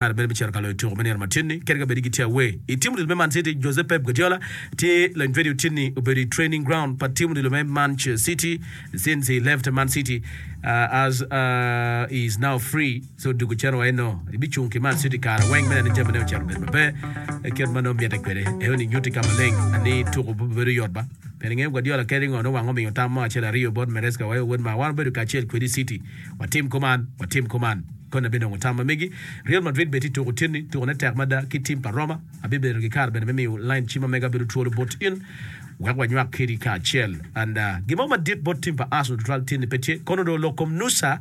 Kare bene bicito ka loyo tuko me nino matin-ni kadi ka bed ni gitye away. I tim odilo me Man City, Jose Pep Guardiola tye lony vedio tin-ni obedo i training ground pa tim odilo me Manche City since he left Man City as he is now free so dugo cen wa eno ibicung ki Man City kare weng me neno ni jamine ocito obedo maber kit ma nongo mitte kwede. Eno ni nyutti ka maleng ni tuko pe obedo yot ba. Pien ingeyo Guardiola kadi ngo nongo wang omiyo tam mo acel ariyo bot Maresca wa wod ma wan wabedo kacel kwedi i City watim kuman watim kuman. Koni abinongo tam ma megi. Real Madrid bene tye tuko otyeni, tukone tek mada ki tim pa Roma. Abibedo ki kare bene me miyo line cim ma mega bedo twolo bot in wek wanywak kedi kacel. And gin mo madit bot tim pa Arsenal tutwal tyeni pe tye. Kono dong lok kom Nusa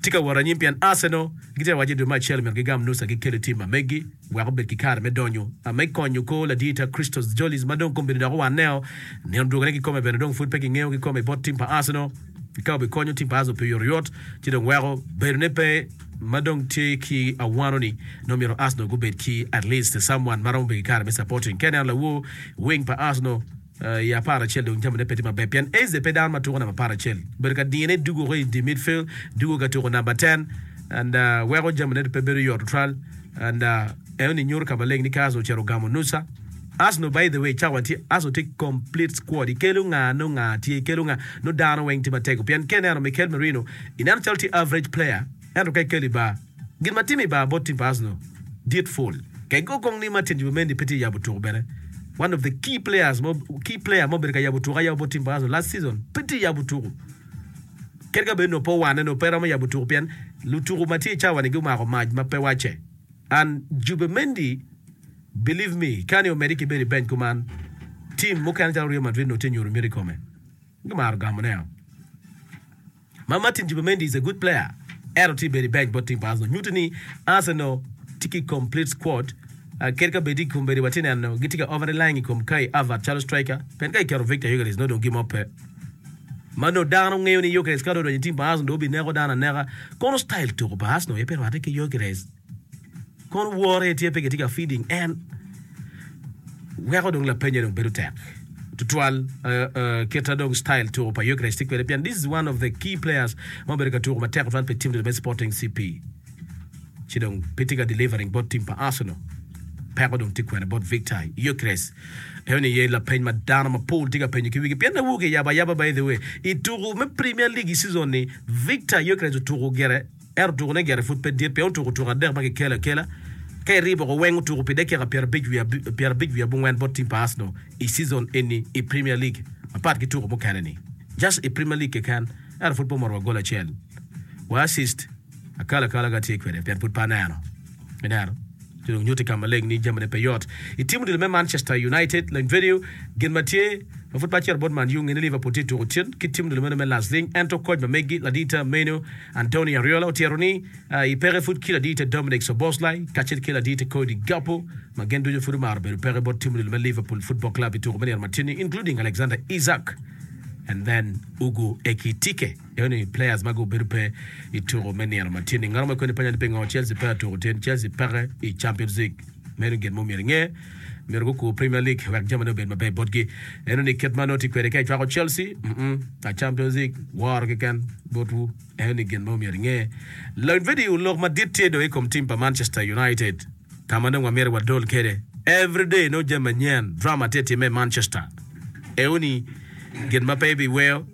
tye ka wot anyim pien Arsenal gitye ka waco ni dwe me acel myero gigam Nusa gikel i tim ma megi wek obed ki kare me donyo me konyo kor ladita Christos Tzolis ma dong kombeddi dok owaneo nino dwogone kikome bene dong pud pe kingeyo kikome bot tim pa Arsenal. Ka obikonyo tim pa Arsenal pi oyotoyot, ci dong weko bedone pe ma dong tye ki awano-ni, nongo myero Arsenal gubed ki at least someone ma romo bedo ki kare me supporting. Ka ineno lawor wing pa Arsenal i aparacel dong jamine pe tye maber pien Eze pe dano ma tuko namba aparacel. Obedo ka dine dugo woko i di midfield, dugo ka tuko namba ten and weko jamine pe bedo yot tutwal and Enoni nyuto ka maleng ni ka Arsenal ocito ogamo Nusa, Arsenal by the way cawa tye Arsenal tye complete squad ikelo nga nongo nga tye ikelo nga nongo dano weng tye matego pien ka ineno Mikel Merino ineno calo tye average player ento ka ikelo i bar gin ma timo i bar bot team pa Arsenal dit full ka igo kong ni Martin Zubimendi pe tye yabo tuko bene one of the key players mo key player mo obedo ka yabo tuko ayaba bot team pa Arsenal last season pe tye yabo tuko kadi ka bed nongo pe owane nongo pe romo yabo tuko pien lutuko ma tye i cawa ni gumako mac ma pe wacce. And Zubimendi believe me ka ni omedi ki bedo i bench kuman team mukene calo Real Madrid nongo tye nyuto miti i kome gimaro gamo ne o. Ma Martin Zubimendi is a good player ento tye bedo i bench bot team pa Arsenal nyuto ni Arsenal tye ki complete squad kadi ka bed i kombeddi watye neno gitye ka over relying i kom Kai Havertz calo striker pien ka iketo Victor Gyökeres nongo dong gin mo pe ma nongo dano ngeyo ni Gyökeres ka dong odonyo i team pa Arsenal dong obineko dano aneka kono style tuko pa Arsenal aye pe rwatte ki Gyökeres. Kono woro aye tye pe kitye ka feeding en weko dong lapenye dong bedo tek tutwal kita dong style tuko pa Gyökeres tye kwede pien this is one of the key players ma obedo ka tuko matek tutwal pi team me Sporting CP ci dong pe tye ka delivering bot team pa Arsenal peko dong tye kwene bot Victor Gyökeres eno ni ye lapeny ma dano mapol tye ka penyo ki wigi pien awoke yabo ayaba by the way i tuko me Premier League i season ni Victor Gyökeres otuko gire Ento tukone gire pud pe dit pien otuko tuko adek ma kikelo akela. Ka iribo woko weng otuko pi dakika pyerabic wiye abongwen bot tim pa Arsenal i season eni i Premier League mapat ki tuko mukene ni. Just i Premier League keken ento pud pe omoto wa gol acel wa assist. Akalakala ga tye kwede pien pud pe aneno. Ineno? Ci dong nyutti ka maleng ni jamine pe yot. I tim odilo me Manchester United, lony vedio gin ma tye ma pud pe acito bot Man U nge ni Liverpool tye tuko cen ki tim odilo meno me Lasling ento koc ma megi ladita meno Andoni Ariola otyero ni i peke pud ki ladite Dominic Szoboszlai kacel ki ladite Cody Gakpo ma gin ducu pud omaro bedo peke bot tim odilo me Liverpool Football Club i tuko me nino matin-ni including Alexander Isak and then Hugo Ekitike. Eno ni players ma gubedo pe i tuko me nino ma tye ni ngat mo kweni penyo ni pingo Chelsea pe atuko tin Chelsea peke i Champions League meno gin mo myero inge myero gukur Premier League wek jamine obed maber botgi eno ni kit ma nongo tye kwede ka icwako Chelsea mm a Champions League woro keken botwu eno ni gin mo myero inge Lony video lok madit tye dong i kom team pa Manchester United ka ma dong wamito wadol kwede everyday nongo jami manyen drama tye timme i Manchester eno ni gin ma pe ibiweyo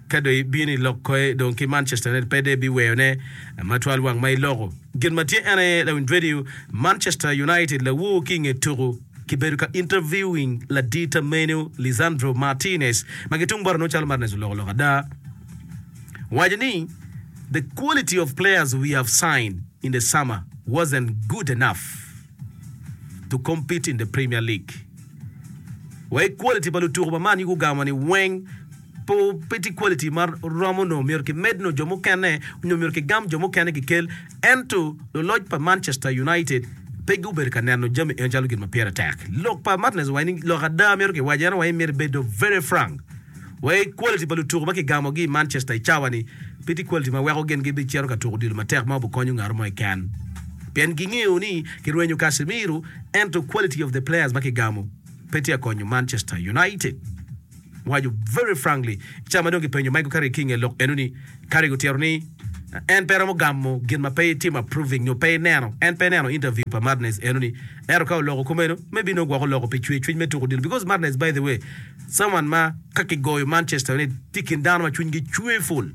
Ka dong ibino i lok koe dong ki Manchester United pe dong ibiweyone matwal wang ma iloko. Gin ma tye en aye lawiny radio Manchester United lawor ki inge tuku kibedo ka interviewing ladita meno Lisandro Martinez ma ki tung bote nongo calo Martinez oloko lok ada owaco ni the quality of players we have signed in the summer wasn't good enough to compete in the Premier League. Wai quality pa lutuku pa Man U gugamo ni weng Pe tye quality ma romo nongo myero ki med nongo jo mukene nyo myero ki gam jo mukene ki kel ento luloc pa Manchester United pe gubedo ka neno jami eno calo gin ma pire tek. Lok pa Martinez owaco ni lok ada myero ki wac en owaco ni myero ibedo very frank wai quality pa lutuku ma ki gamo gi i Manchester i cawa ni pe tye quality ma weko gin gi bicito ka tuku odilo matek ma obikonyo ngat mo keken pien gingeyo ni kirwenyo Casemiro ento quality of the players ma ki gamo pe tye ka konyo Manchester United. Owaco very frankly, i cawa ma dong kipenyo Michael Carrick ki i nge lok eno ni, Carrick otito ni. En pe romo gamo gin ma pe itimo approving nyo pe ineno. En pe neno interview pa Martinez eno ni. Ento ka oloko kumeno, maybe nongo gwok oloko pi cwer cwiny me tuko odilo because Martinez by the way someone ma ka kigoyo Manchester United tye i kin dano ma cwinygi cwer full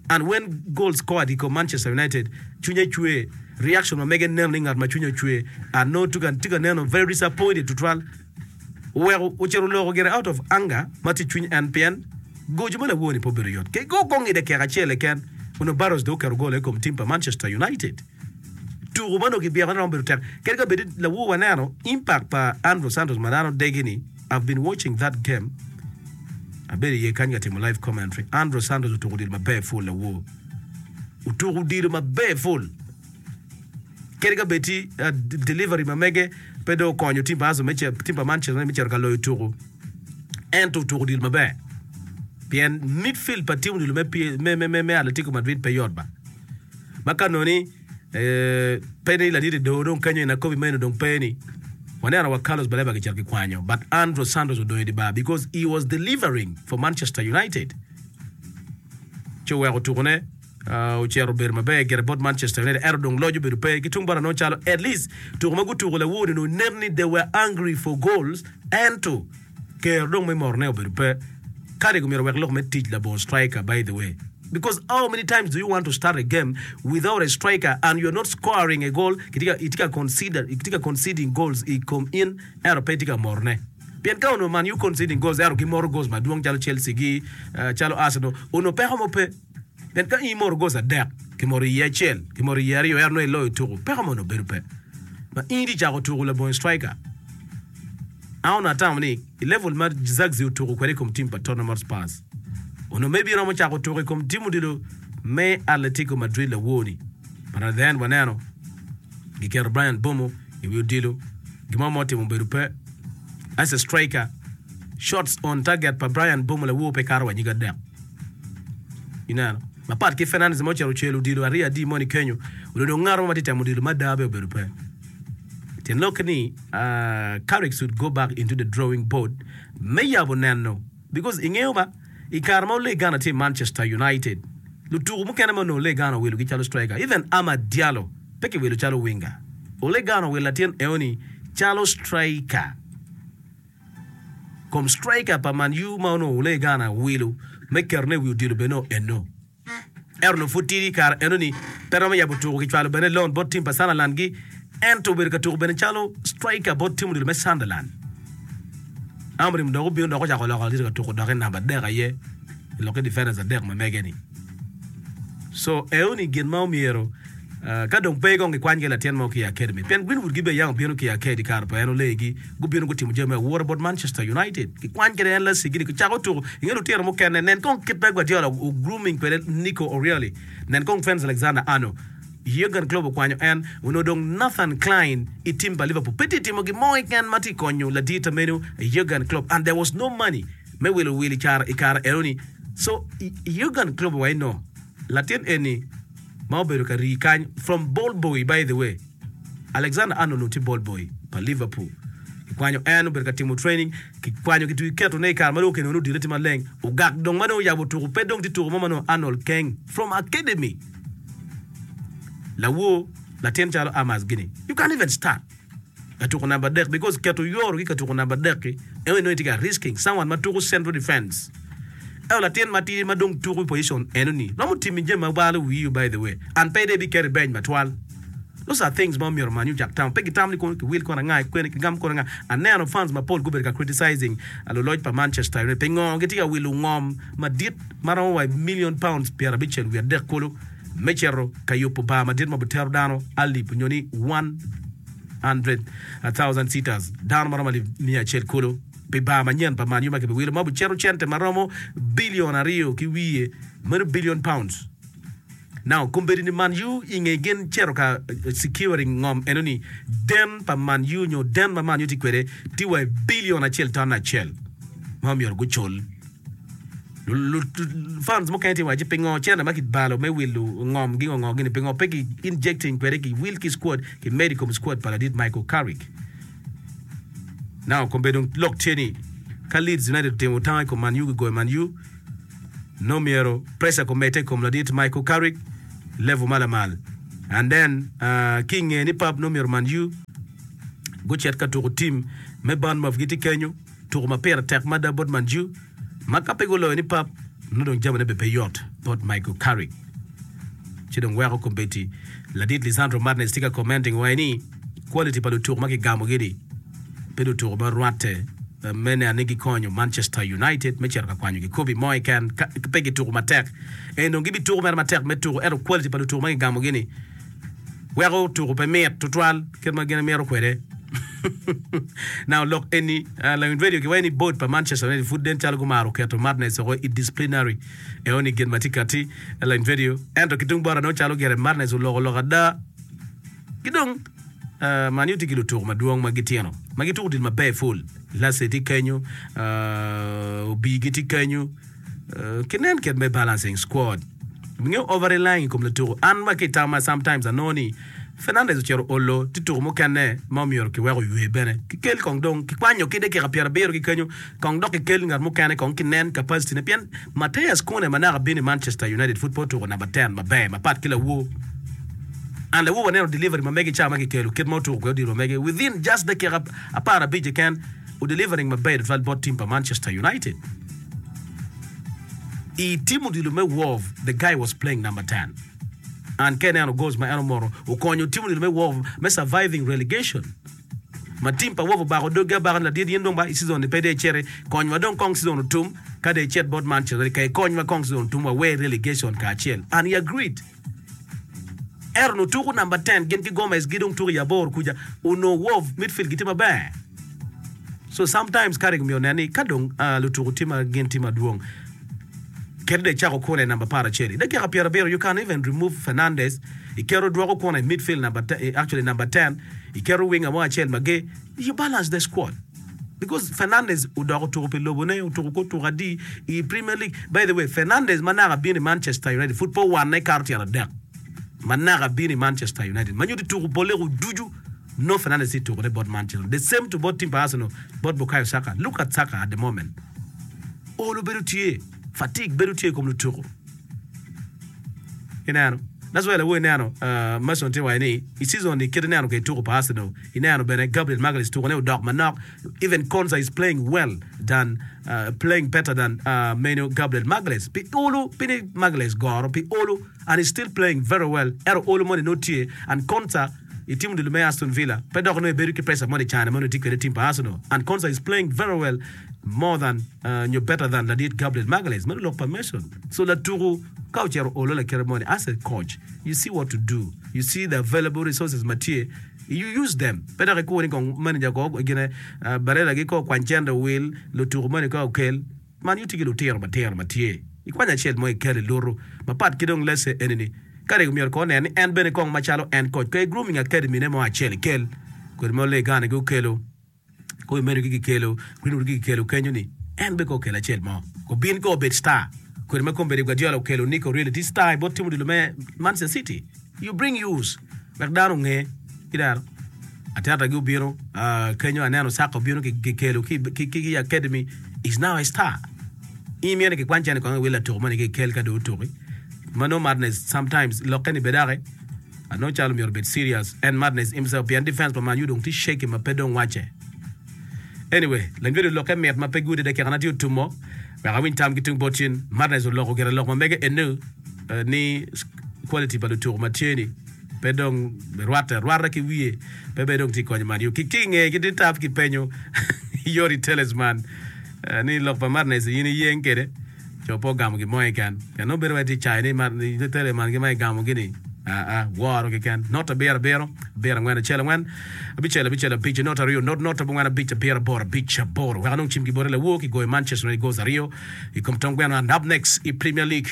and when goals scored i kom Manchester United cwinye cwer reaction ma mege neno ni ngat ma cwinye ocwer and nongo tye ka neno very disappointed tutwal. Oweko ocito oloko gire out of anger ma tye i cwiny en pien goco ma lawor-ni pe obedo yot. Kego kong i dakika acel keken, onongo Barros dong oketo gol i kom tim pa Manchester United. Tuko ma onongo kibyeko ni romo bedo tek. Kadi ka bed lawor waneno impact pa Andrew Santos ma dano degi-ni, I've been watching that game, abedo iye kany ka timo live commentary, Andrew Santos otuko odilo maber full lawor. Otuko odilo maber full. Kadi ka bed ti delivery ma mege pe dong okonyo tim pa Arsenal me tim pa Manchester United me cito ka loyo tuku, ento otuko odilo maber pien midfield pa tim odilo me, me, me, me Atletico Madrid pe yot ba. Ma ka nongo ni eh, pe ni ladit Edo dong kenyo en akobi meno dong pe ni waneno wa Carlos Baleba kicito kikwanyo but Andrew Santos odong i di bar because he was delivering for Manchester United ci oweko tukone Ocito obedo maber gire bot Manchester United ento dong loc obedo pe ki tung bot anongo calo at least tuko ma gutuko lawor-ni onongo nen ni they were hungry for goals ento kero dong me morone obedo pe. Carrick omyero owek lok me tic labongo striker by the way because how many times do you want to start a game without a striker and you are not scoring a goal itye ka consider itye ka conceding goals i kom in ento pe itye ka morone. Pien ka onongo Man U conceding goals ento gimoro goals madwong calo Chelsea gi calo Arsenal onongo peko mo pe. Pien ka in imoro goals adek, kimoro iye acel, kimoro iye aryo ento nongo iloyo tuku, peko mo onongo bedo pe. Ma in itye cako tuku labongo striker. An onongo atamo ni i level ma Zirkzee otuku kwede i kom team pa Tottenham Hotspurs, onongo maybe iromo cako tuku i kom team odilo me Atletico Madrid lawor-ni. But at the end waneno giketo Bryan Mbeumo i wi odilo, gin mo ma otimo obedo pe. As a striker, shots on target pa Bryan Mbeumo lawor pe kato wa nyig adek. Ineno? Mapat ki Fernandes ma ocito ocelo odilo aryo adi moni kenyo, onongo dong ngat mo ma tye temo odilo mada bene obedo pe. Tyen lokke ni, Carrick should go back into the drawing board me yabo neno because ingeyo ba, i kare ma Ole Gunnar tye i Manchester United, lutuku mukene ma onongo Ole Gunnar owilogi calo striker, even Amad Diallo pe kiwilo calo winger. Ole Gunnar owilo latin eoni calo striker. Kom striker pa Man U ma onongo Ole Gunnar wilo me ketone i wi odilo bene onongo eno. Ento onongo pud tidi i kare enoni, pe romo yabo tuko. Kicwalo bene loan bot tim pa Sunderland gi, ento obedo ka tuko bene calo striker bot tim odilo me Sunderland. Amorim dok obino dok ocako loko ladit ka tuko dok i namba adek aye i lokke defenders adek ma mege-ni. So eoni gin ma omyero ka dong pe kong gikwany ki latin mo ki i academy pien Greenwood gi bene yam obino ki i academy i kare pa en olegi gubino gutimo jami me awura bot Manchester United gikwany kede en Lassie gini gicako tuko inge lutino mukene nen kong kit ma Guardiola o grooming kwede Nico O'Reilly nen kong Trent Alexander-Arnold Jurgen Klopp okwanyo en onongo dong Nathan Clyne i tim pa Liverpool pe tye timo gin mo keken ma tye konyo ladit meno Jurgen Klopp and there was no money me wilo wil i kare enoni so Jurgen Klopp owaco ni no latin eni ma obedo ka rii kany from ball boy by the way Alexander Arnold onongo tye ball boy pa Liverpool kikwanyo en obedo ka timo training kikwanyo ki keto ne i kare ma dong okenone odile tye maleng ogak dong ma dong oyabo tuko pe dong tye tuko mo ma nongo Arnold keng from academy lawor latin calo Amas gini you can't even start Ka tuko namba adek because keto yoro ki ka tuko namba adek-ki eno inongo itye ka risking someone ma tuko central defense. Ento latin matidi ma dong tuko i position eno-ni romo timi jami ma balo wii by the way and pe dong ibiketo i bench matwal. Those are things ma omyero omany ocak tamo. Pe gitamo ni kono kiwil kono anga kwene kigam kono anga. Aneno fans mapol gubedo ka criticizing luloc pa Manchester United pingo gitye ka wilo ngom madit ma romo wa million pounds pyerabicel wiye adek kulu me cito ka yubo bar madit ma obitero dano alip nyo ni 100,000 seaters, dano ma romo alip miya acel kulu, pi bar manyen pa Man U ma kibiwilo ma obicito cente ma romo bilion aryo ki wiye, meno billion pounds. Now, kombeddi ni Man U i nge gin cito ka securing ngom eno ni, den pa Man U nyo den ma Man U tye kwede tye wa i bilion acel ton acel ma myero gucul. Fans mukene tye waci pingo cente ma kibalo me wilo ngom gi ngo gini pingo pe ki injecting kwede ki wil ki squad ki medo i kom squad pa ladit Michael Carrick. Now kombeddi dong lok tye ni ka Leeds United otimo tango i kom Man U gigoyo Man U nongo myero pressure komedde i kom ladit Michael Carrick. level ma lamal and then ki inge ni pap nongo myero Man U gucit ka tuko team me Bournemouth gitye kenyo tuko ma pire tek mada bot Man U ma ka pe guloyo ni pap nongo dong jamine bene pe yot bot Michael Carrick ci dong weko kombeddi ladit Lisandro Martinez tye ka commenting waci ni quality pa lutuko ma kigamogi-ni pe lutuko ma rwatte me neno ni gikonyo Manchester United me cito ka kwanyo gikobi mo keken ka pe gituko matek. Eni dong gibituko mere matek me tuko ento quality pa lutuko ma kigamogi-ni weko tuko pe mit tutwal kit ma gin gimito kwede. Now lok eni lawiny radio kiwaco ni board pa Manchester United pud nen calo gumaro keto Martinez woko i disciplinary eno ni gin ma tye kati lawiny radio ento ki tung bota nongo calo gire Martinez oloko lok ada ki dong Man U tye ki lutuku madwong ma gitino ma gituko odilo maber pul. Lasse tye kenyo, Obi-gi tye kenyo. Ki nen kit me balancing squad. Ingeyo over relying i kom lutuku. An ma ki i tamma sometimes anongo ni Fernandez ocito olo tye tuku mukene ma omyero kiwek oywe bene. Kikel kong dong kikwanyo ki dakika pyerabiro ki kenyo kong dok kikel ngat mukene kong kinen capacity ne pien Matheus Cunha ma naka bino i Manchester United pud pe otuko namba ten maber mapat ki lawor. And lawor waneno delivery ma mege i cawa ma kikelo kit ma otuko kwede odilo ma mege within just dakika aparabic keken o delivering maber tutwal bot team pa Manchester United. I team odilo me Wolves the guy was playing number 10 and ka ineno goals ma en omoto okonyo team odilo me Wolves me surviving relegation. Ma team pa Wolves obako doggi abaka ni ladit in dong ba i season ni pe dong iciti konywa dong kong season otum ka dong icit bot Manchester United ka ikonywa kong season otum wawer relegation kacel and he agreed. Ento onongo tuko namba ten gin ki Gomez gi dong tuko i aboro kuca onongo Wolves midfield gitye maber. So sometimes Carrick myero onen ni ka dong lutuku tye ma gin tye madwong kadi dong icako kune i namba aparacel i dakika pyerabiro you can even remove Fernandes iketo dwoko kune i midfield namba actually namba ten iketo winger mo acel mager you balance the squad. Because Fernandes odok otuko pi lobone, otuko kor tuko adi i Premier League. By the way, Fernandes ma naka bino i Manchester United pud pe owanne kato tyen adek. Ma naka bino i Manchester United. Ma nyuto tuko boleko ducu, no Fernandes tye tukone bot Manchester. The same to bot team pa Arsenal, bot Bukayo Saka. Look at Saka at the moment. Olo bedo tye, fatigue bedo tye i kom lutuko. Ineno? That's why lawo ineno uh, Mason tye waco ni i season ni kit ineno kwede tuko pa Arsenal, ineno bene Gabriel Magalhaes tukone odok manok, even Konsa is playing well than uh, playing better than uh, meno Gabriel Magalhaes. Pi olo, pi ni Magalhaes goro pi olo and he's still playing very well. Ento olo moni nongo tye and Konsa i team odilo me Aston Villa pe dok nongo ebedo ki pressure moni cane ma nongo etye kwede i team pa Arsenal and Konsa is playing very well more than uh, nyo better than ladit Gabriel Magalhaes. Meno lok pa Mason. So latuku ka ocito olo lakite moni as a coach you see what to do you see the available resources ma tye you use them pe dok ikur ni kong manager ko gine uh, Barella gi ko okwany cente owil lutuku moni ka okel man you tye ki lutino matino ma tye ikwanyo acel mo ikel ilutu mapat ki dong lese eni ni ka dong myero kong onen ni en bene kong macalo en coach ka i grooming academy ne mo acel ikel kodi ma Olegane gi okelo Kong imedo ki kikelo Greenwood ki kikelo kenyo ni en bene kong okel acel mo obin kong obed star kodi ma kombeddi Guardiola okelo Nico Reilly tye star i bot tim odilo me Manchester City you bring yours wek dano onge ki dano Arteta gi obino kenyo aneno Saka obino kikelo ki ki academy is now a star in imito ni kikwany cene kong iwil latuko moni ki ikel ka dong otuki ma nongo madness sometimes lokke ni bed daki Anongo calo myero obed serious and madness himself pien defense pa Man U dong tye shaky ma pe dong wacce. Anyway, lanywedi olokke mit ma pe gude dakika na tye otumo wek awiny tam ki tung bot cin. Madness oloko gire lok ma mege enu ni quality pa lutuku ma tye ni pe dong rwatte arwata ki wiye pe bene dong tye konyo Man U. Ki ki inge ki tap ki penyo Yori Talisman ni lok pa Madness in iyeng kede? Co pe ogamo gin mo keken. Pien nongo bedo wai tye cayo ni Teleman gi ma egamo gi ni aa woro keken. Not abiro abiro, abiro angwen acel angwen, abicel abicel abic, not aryo not not abongwen abic abiro aboro abic aboro. Wek anong cim ki bote lawor ki goyo Manchester United goals aryo i kom tong gweno and up next i Premier League.